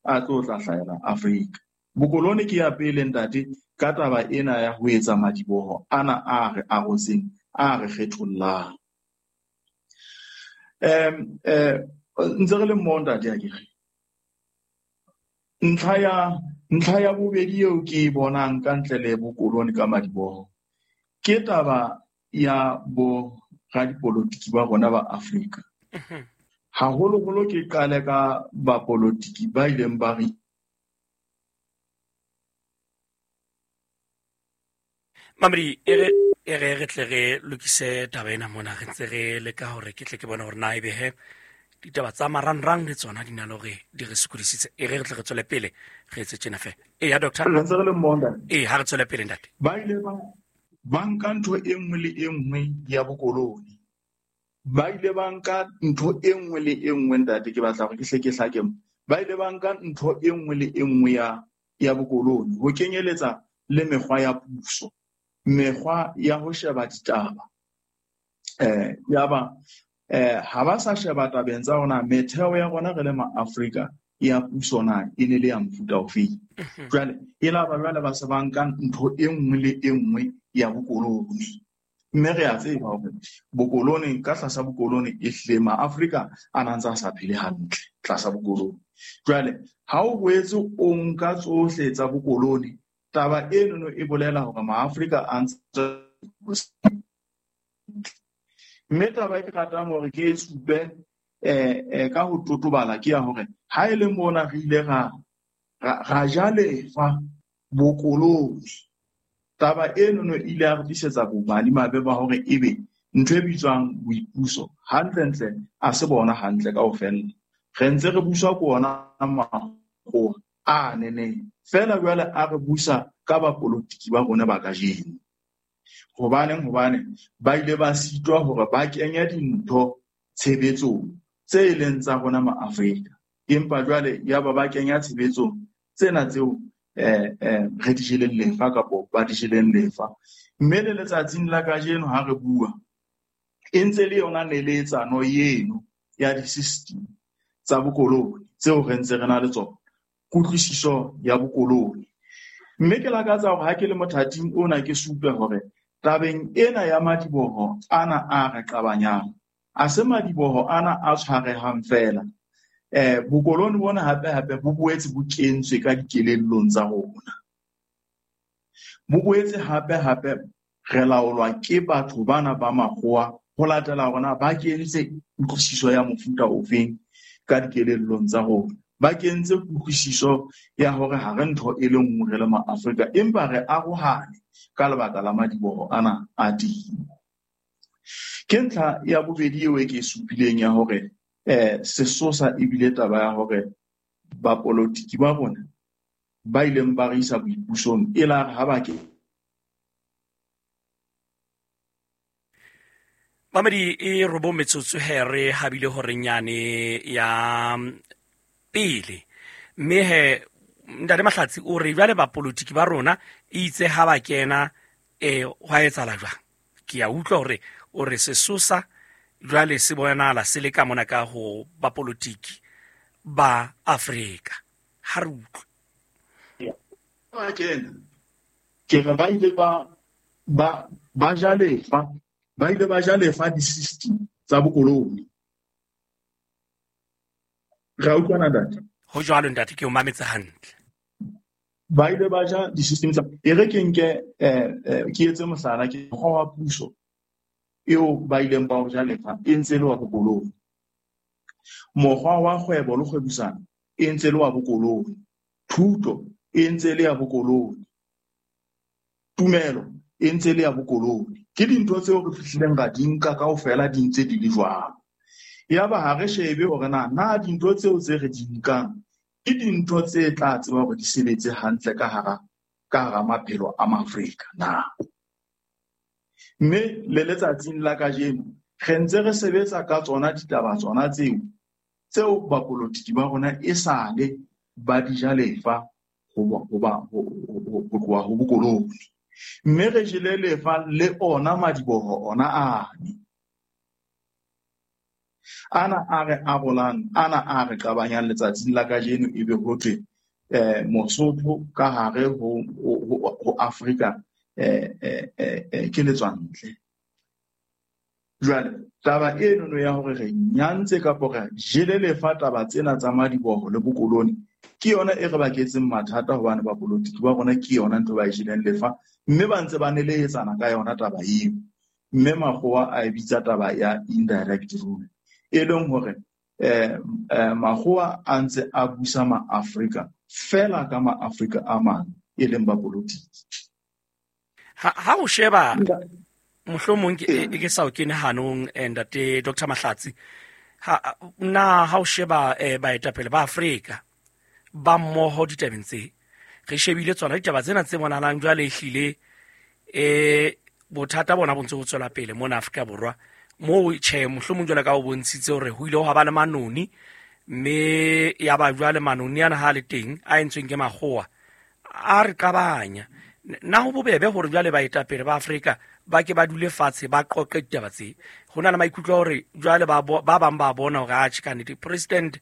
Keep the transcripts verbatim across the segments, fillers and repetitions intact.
a tlo tla hlahela Afrika. Bokolone ke ya pele ntate ka taba ena ya ho etsa madiboho ana a re arotseng, a re kgethollang. Em eh ntse re le mmoho ntate akere. Ntlha ya ntlha ya bobedi eo ke e bonang ka ntle le bokolone ka madiboho ke taba ya bo radipolotiki ba rona ba Afrika. Haholoholo ke qale ka bapolotiki ba ileng ba re Mamedi e re e re re tle re lokise taba ena mona, re ntse re leka hore ke tle ke bone hore na ebe he ditaba tsa marangrang le tsona di na le hore di re sokodisitse. E re re tle re tswele pele re etse tjena fe. E ya doctor, re ntse re le mmoho ntate. E ha re tswele pele ntate. Ba ile ba ba nka ntho e nngwe le e nngwe ya bokolone. Ba ile ba nka ntho e nngwe le e nngwe ntate, ke batla hore ke hle ke hlake. Ba ile ba nka ntho e nngwe le e nngwe ya ya bokolone, ho kenyeletsa le mekgwa ya puso, mekgwa ya ho sheba ditaba. Eh yaba eh ha ba sa sheba tabeng tsa rona, metheo ya rona re le ma-Afrika ya puso na e ne le ya mofuta ofe. Jwale e la ba jwale ba se ba nka ntho e nngwe le e nngwe ya bokolone. Mme re a tseba hore bokolone, ka tlasa bokolone e hle ma-Afrika a na ntse a sa phele hantle tlasa bokolone. Jwale ha o boetse o nka tsohle tsa bokolone, taba eno e bolela hore ma-Afrika a ntse. Mme taba e ke ratang hore ke e supe eh eh ka ho totobala ke ya hore ha e le mona re ile ra ra ja lefa bokolone, taba eno e ile ya re tlisetsa bomadimabe ba hore ebe ntho e bitswang boipuso hantlentle a se bona hantle kaofela. Re ntse re buswa ke ona makgowa a neneng feela, jwale a re busa ka bapolotiki ba rona ba kajeno. Hobaneng? Hobane ba ile ba sitwa hore ba kenye dintho tshebetsong tse leng tsa rona ma-Afrika, empa jwale ya ba ba kenya tshebetsong tsena tseo eh eh re di jeleng lefa kapo ba di jeleng lefa. Mme le letsatsing la kajeno ha re bua, e ntse le yona neletsano eno ya di-system tsa bokolone tseo re ntse re na le tsona, kutlwisiso ya bokolone. Mme ke lakatsa hore ha ke le mothating ona ke supe hore tabeng ena ya madiboho ana a re qabanyang, a se madiboho ana a tshwarehang feela. Eh bokolone bona hape hape bo boetse bo kentswe ka dikelellong tsa rona. Bo boetse hape hape re laolwa ke batho bana ba makgowa ho latela hore ba kentse kutlwisiso ya mofuta ofeng ka dikelellong tsa rona. Ba kentse kutlwisiso ya hore ha re ntho e le nngwe re le ma-Afrika, empa re arohane ka lebaka la madiboho ana a teng. Ke ntlha ya bobedi eo e ke e supileng ya hore eh sesosa ebile taba ya hore bapolotiki ba rona ba ileng ba re isa boipusong e la re ha ba ke Mamedi e robong metsotso he re habile hore nyane ya pele. Mme he ntate Mahlatsi o re jwale bapolotiki ba rona e itse ha ba kena eh hwa etsahala jwang. Ke a utlwa hore o re sesosa jwale se bonahala se le ka mona ka ho bapolotiki ba Afrika. Ha re utlwe. Ba kena ke re ba ile ba ba ba ja lefa, ba ile ba ja lefa di-system tsa bokolone. Re a utlwana ntate? Ho jwalo ntate, ke o mametse hantle. Ba ile ba ja di-system tsa, e re ke nke eh ke etse mohlala, ke mokgwa wa puso eo ba ileng ba o ja lefa e ntse le wa bokolone. Mokgwa wa kgwebo le kgwebisano e ntse le wa bokolone. Thuto e ntse le ya bokolone. Tumelo e ntse le ya bokolone. Ke dintho tseo re fihlileng ra di nka kaofela di ntse di le jwalo. Yaba ha re shebe hore na na dintho tseo tse re di nkang ke dintho tse tla tseba hore di sebetse hantle ka hara ka hara maphelo a Maafrika na. Mme le letsatsing la kajeno re ntse re sebetsa ka tsona ditaba tsona tseo tseo bapolotiki ba rona esale ba di ja lefa ho ba ho tloha ho bokolone. Mme re jele lefa le ona madiboho ona ane. Ana a re arolang, ana a re qabanyang letsatsing la kajeno ebe ho thwe eh Mosotho ka hare ho ho Afrika eh eh ke letswantle. Jwale taba eno no ya hore re nyantse kapo re jele lefa taba tsena tsa madiboho le bokoloni ke yona e re baketseng mathata hobane ba politiki ba rona ke yona ntho ba e jeleng lefa mme ba ntse ba nelehetsana ka yona taba eo. Mme makgowa a e bitsa taba ya indirect rule, e leng hore eh makgowa a ntse a busa ma-Afrika fela ka ma-Afrika a mang e leng ba politiki. Ha ha o sheba mohlomong ke ke sa o kene hanong ntate Doctor Mahlatsi, ha na ha o sheba baetapele ba Afrika ba mmoho ditabeng tse re shebile tsona ditaba tsena tse bonahalang jwale ehlile eh bothata bona bo ntse bo tswela pele mona Afrika Borwa moo tjhe mohlomong jwale ka o bontshitse hore ho ile ha ba le manoni mme ya ba jwale manoni ana ha le teng a entsweng ke makgowa a re qabanya. Na ho bobebe hore jwale baetapele ba Afrika ba ke ba dule fatshe ba qoqe ditaba tse? Ho na le maikutlo a hore jwale ba ba bang ba bona hore atjhe ka nnete President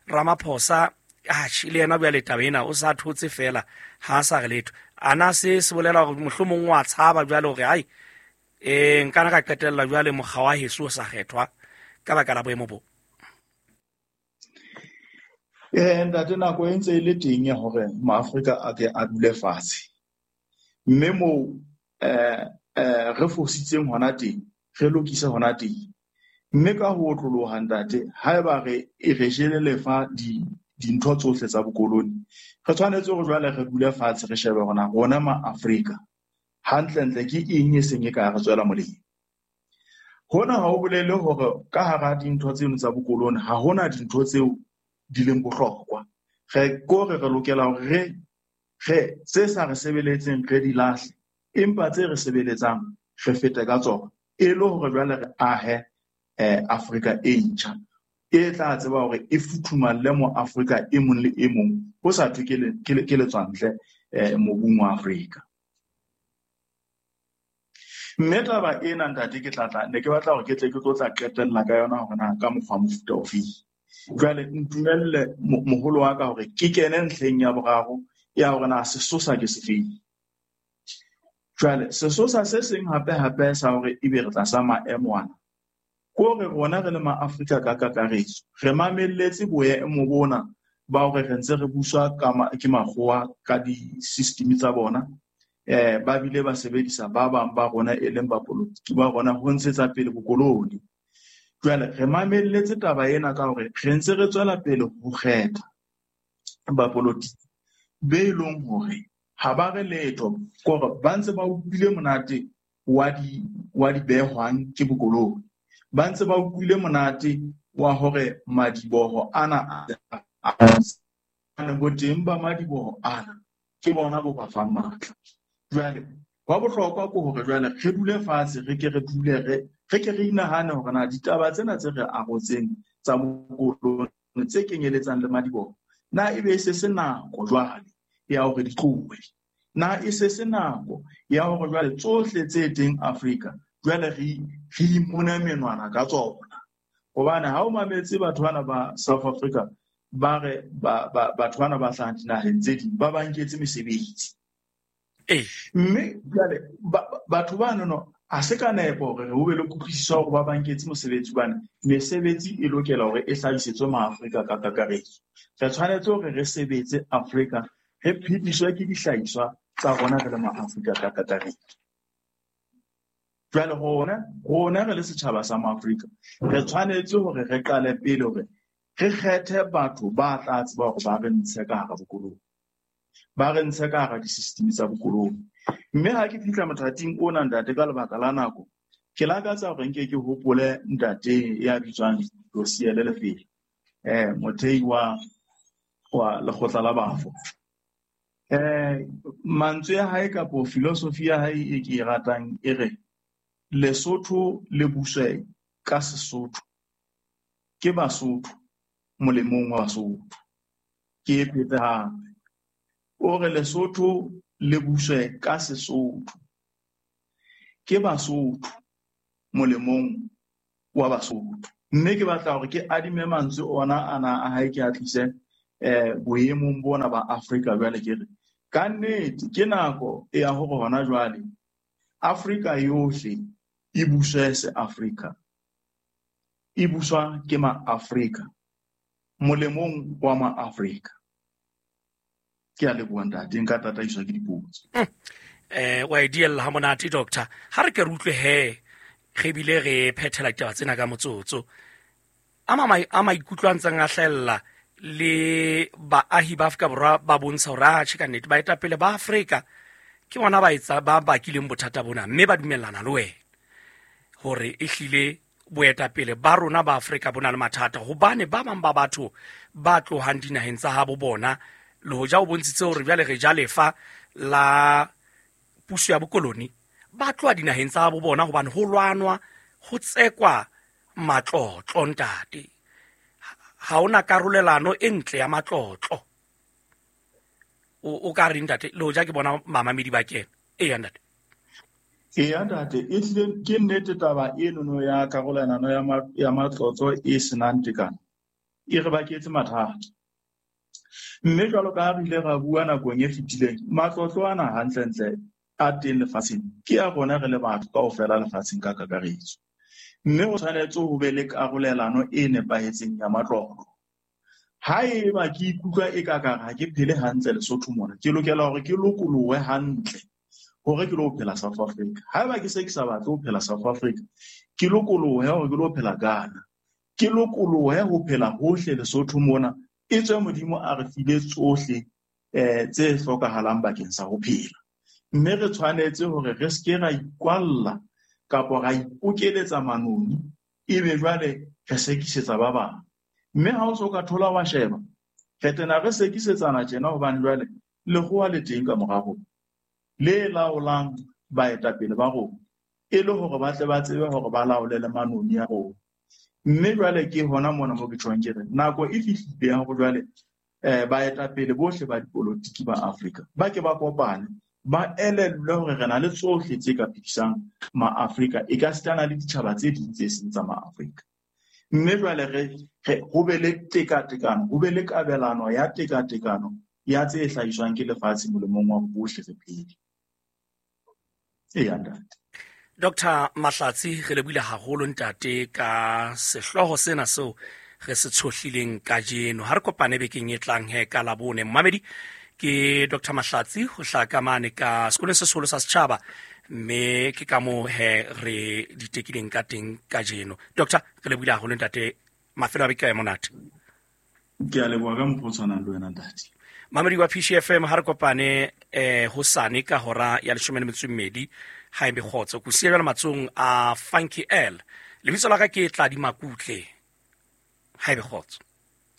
Ramaphosa atjhe le yena jwale taba ena o sa thotse fela ha sa re letho. Ana se se bolela hore mohlomong wa tshaba jwale hore ai eh nkana ka qetella jwale mokga wa heso o sa kgethwa ka baka la boemo bo? Eh ntate, nako e ntse e le teng ya hore maAfrika a ke a dule fatshe. Mme moo eh eh re fositseng hona teng, re lokise hona teng. Mme ka ho otloloha ntate, haeba re e re jele lefa di dintho tsohle tsa bokoloni, re tshwanetse hore jwale re dule fatshe re shebe hore na rona maAfrika hantlentle ke eng e seng e ka re tswela molemo. Hona ha ho bolele hore ka hara dintho tseno tsa bokoloni ha hona dintho tseo di leng bohlokwa. Re kore re lokela hore re re tse sa re sebeletseng re di lahle, empa tse re sebeletsang re fete ka tsona e le hore jwale re ahe eh Afrika e ntjha e tla tseba hore e futhumalle mo Afrika e mong le e mong ho sa thwe ke ke letswantle eh mobung wa Afrika. Mme taba ena ntate ke tla tla ne ke batla hore ke tle ke tlo tla qetella ka yona hore na ka mokgwa mofuta ofe. Jwale ntumelle moholo wa ka hore ke kene ntlheng ya boraro ya hore na sesosa ke sefeng. Jwale sesosa se seng hape hape sa hore ebe re tlasa maemo ana ke hore rona re le maAfrika ka kakaretso re mamelletse boemo bona ba hore re ntse re buswa ka ke makgowa ka di-system tsa bona. Eh ba bile ba sebedisa ba bang ba rona e leng ba politiki ba rona ho ntshetsa pele bokoloni. Jwale re mamelletse taba ena ka hore re ntse re tswela pele ho kgetha bapolitiki be leng hore ha ba re letho, kore ba ntse ba utlwile monate wa di wa di behwang ke bokoloni, ba ntse ba utlwile monate wa hore madiboho ana a boteng ba madiboho ana ke bona bo ba fang matla. Jwale wa bohlokwa ke hore jwale re dule fatshe re ke re dule re re ke re inahane hore na ditaba tsena tse re arotseng tsa bokoloni tse kenyeletsang le madiboho na ebe e se se nako jwale ya hore di tlohe, na e se se nako ya hore jwale tsohle tse teng Afrika jwale re re imone menwana ka tsona. Hobane ha o mametse batho bana ba South Africa ba re ba batho bana ba hlahang dinaheng tse ding ba ba nketse mesebetsi. Mme jwale batho bano no ha se ka nepo hore ho be le kutlwisiso hore ba ba nketse mosebetsi, hobane mesebetsi e lokela hore e hlahisetswe maAfrika ka kakaretso. Re tshwanetse hore re sebetse Afrika, re phediswe ke dihlahiswa tsa rona re le maAfrika ka kakaretso. Jwale rona rona re le setjhaba sa maAfrika re tshwanetse hore re qale pele hore re kgethe batho ba tla tseba hore ba re ntshe ka hara bokoloni, ba re ntshe ka hara di-system tsa bokoloni. Mme ha ke fihla mothating ona ntate ka lebaka la nako, ke lakatsa hore nke ke hopole ntate ya bitswang Losiele Lefele, eh mothei wa wa lekgotla la bafo. Eh mantswe ya hae kapo philosophy ya hae e ke e ratang e re Lesotho le buswe ka Sesotho ke Basotho molemong wa Basotho. Ke e phete hape, o re Lesotho le buswe ka Sesotho ke Basotho molemong wa Basotho. Mme ke batla hore ke adime mantswe ona ana a hae ke a tlise eh boemong bona ba Afrika jwale ke re ka nnete ke nako ya hore hona jwale Afrika yohle e buswe se Afrika, e buswa ke ma-Afrika molemong wa ma-Afrika. Ke a leboha ntate, nka tataiswa ke dipotso. Eh wa e diella ha monate doctor. Ha re ke re utlwe he re bile re phethela ditaba tsena ka motsotso. A ma a maikutlo a ntseng a hlahella le baahi ba Afrika Borwa ba bontsha hore a tjhe ka nnete baetapele ba Afrika ke bona ba etsa ba bakileng bothata bona, mme ba dumellana le wena hore ehlile boetapele ba rona ba Afrika bo na le mathata, hobane ba bang ba batho ba tlohang dinaheng tsa habo bona le hoja o bontshitse hore jwale re ja lefa la puso ya bokoloni, ba tloha dinaheng tsa habo bona hobane ho lwanwa ho tsekwa matlotlo ntate. Ha hona karolelano e ntle ya matlotlo. O o ka re ntate le hoja ke bona mamamedi ba kena. Eya ntate. Eya ntate, ehlile ke nnete taba enono ya karolelano ya ma, ya matlotlo e senang tekano e re baketse mathata. Mme jwalo ka ha re ile ra bua nakong e fetileng, matlotlo ana hantlentle a teng lefatsheng ke a rona re le batho kaofela lefatsheng ka kakaretso. Mme ho tshwanetse ho be le karolelano e nepahetseng ya matlotlo. Haeba ke ikutlwa e ka kare ha ke phele hantle Lesotho mona, ke lokela hore ke lokolohe hantle hore ke lo phela South Africa. Haeba ke se ke sa batle ho phela South Africa, ke lokolohe hore ke lo phela Ghana. Ke lokolohe ho phela hohle Lesotho mona, etswe Modimo a re file tsohle eh tse hlokahalang bakeng sa ho phela. Mme re tshwanetse hore re ske ra ikwalla kapa ra ipokeletsa manoni ebe jwale re sekisetsa ba bang. Mme ha o so ka thola wa sheba, re tena re sekisetsana tjena hobane jwale lekgowa le teng ka mora rona le laolang baetapele ba rona, e le hore ba tle ba tsebe hore ba laole le manoni a rona. Mme jwale ke hona mona mo ke tjhong ke re nako e fihlile ya hore jwale eh baetapele bohle ba dipolotiki ba Afrika ba ke ba kopane, ba elellwe hore re na le tsohle tse ka phedisang ma-Afrika, e ka sitana le ditjhaba tse ding tse seng tsa ma-Afrika. Mme jwale re re ho be le tekatekano, ho be le kabelano ya tekatekano ya tse hlahiswang ke lefatshe molemong wa bohle re phele. Eya ntate. Doctor Mahlatsi, re lebohile haholo ntate ka sehlooho sena seo re se tshohlileng kajeno. Ha re kopane bekeng e tlang he ka Labone. Mmamedi ke Doctor Mahlatsi ho hlaka mane ka sekolong se seholo sa setjhaba, mme ke ka moo he re ditekileng ka teng kajeno. Doctor, re lebohile haholo ntate, mafelo a beke a monate. Ke a leboha ka mokgwa o tshwanang le wena ntate. Mamedi wa P C F M, ha re kopane eh hosane ka hora ya leshome le metso e mmedi ha ebe kgotso. Ko siya jwale matsohong a Funky L. Lebitso la ka ke Tladi Makutle. Ha ebe kgotso.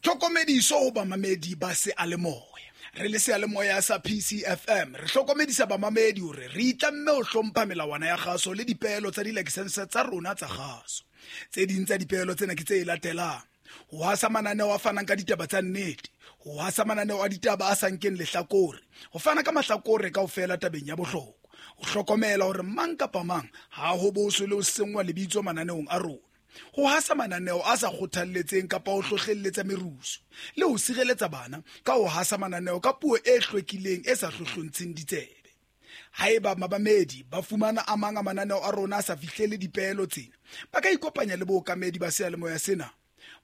Tlhokomediso ho bamamedi ba seyalemoya. Re le seyalemoya sa P C F M re hlokomedisa bamamedi hore re itlamme ho hlompha melawana ya kgaso le dipeelo tsa dilakesense tsa rona tsa kgaso. Tse ding tsa dipeelo tsena ke tse latelang: ho hasa mananeo a fanang ka ditaba tsa nnete, ho hasa mananeo a ditaba a sa nkeng lehlakore, ho fana ka mahlakore kaofela tabeng ya bohlokwa, ho hlokomela hore mang kapa mang ha ho boswe le ho senngwa lebitso mananeong a rona, ho hasa mananeo a sa kgothalletseng kapa ho hlohlelletsa merusu, le ho sireletsa bana ka ho hasa mananeo ka puo e hlwekileng e sa hlohlontsheng ditsebe. Haeba mabamedi ba fumana a mang a mananeo a rona a sa fihlele dipeelo tsena, ba ka ikopanya le bookamedi ba seyalemoya sena.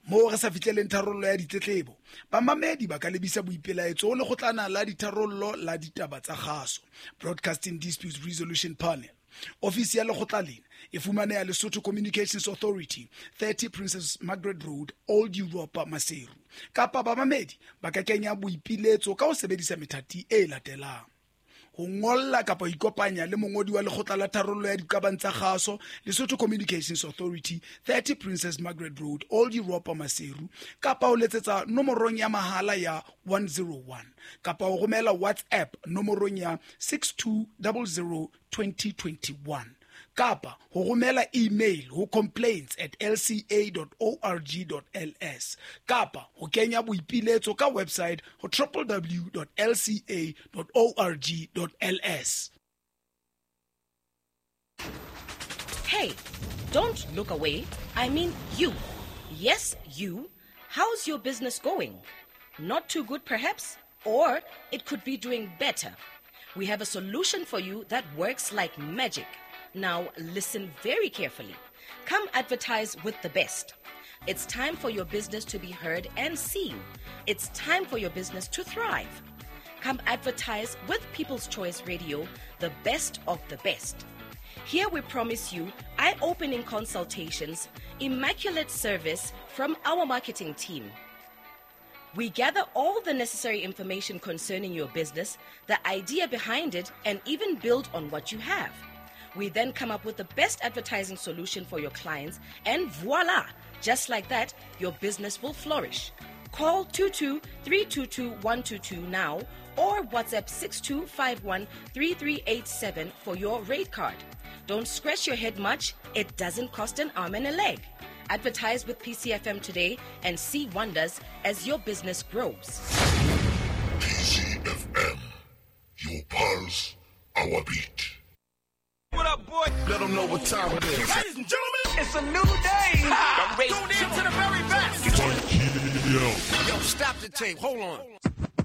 Moo re sa fihleleng tharollo ya ditletlebo, bamamedi ba ka lebisa boipelaetso ho lekgotlana la ditharollo la ditaba tsa kgaso, Broadcasting Disputes Resolution Panel. Ofisi ya lekgotla lena e fumaneha Lesotho Communications Authority, thirty Princess Margaret Road, Old Europa, Maseru. Kapa bamamedi ba ka kenya boipiletso ka ho sebedisa methati e latelang: ho ngolla kapa ho ikopanya le mongodi wa lekgotla la tharollo ya diqabang tsa kgaso, Lesotho Communications Authority, thirty Princess Margaret Road, Old Europa, Maseru, kapa ho letsetsa nomorong ya mahala ya one zero one, kapa ho romela WhatsApp nomorong ya six two zero zero twenty twenty-one, kapa ho romela email ho complaints at l c a dot org dot l s, kapa ho kenya boipiletso ka website ho w w w dot l c a dot org dot l s. Hey, don't look away. I mean you. Yes, you. How's your business going? Not too good, perhaps? Or it could be doing better. We have a solution for you that works like magic. Now, listen very carefully. Come advertise with the best. It's time for your business to be heard and seen. It's time for your business to thrive. Come advertise with People's Choice Radio, the best of the best. Here we promise you eye-opening consultations, immaculate service from our marketing team. We gather all the necessary information concerning your business, the idea behind it, and even build on what you have. We then come up with the best advertising solution for your clients, and voila! Just like that, your business will flourish. Call two two three two two one two two now or WhatsApp six two five one three three eight seven for your rate card. Don't scratch your head much. It doesn't cost an arm and a leg. Advertise with P C F M today and see wonders as your business grows. P C F M, your pulse, our beat. What up, boy? Let them know what time it is. Ladies and gentlemen, it's a new day. Ha! Tune in to the very best. Yo, stop the tape. Hold on.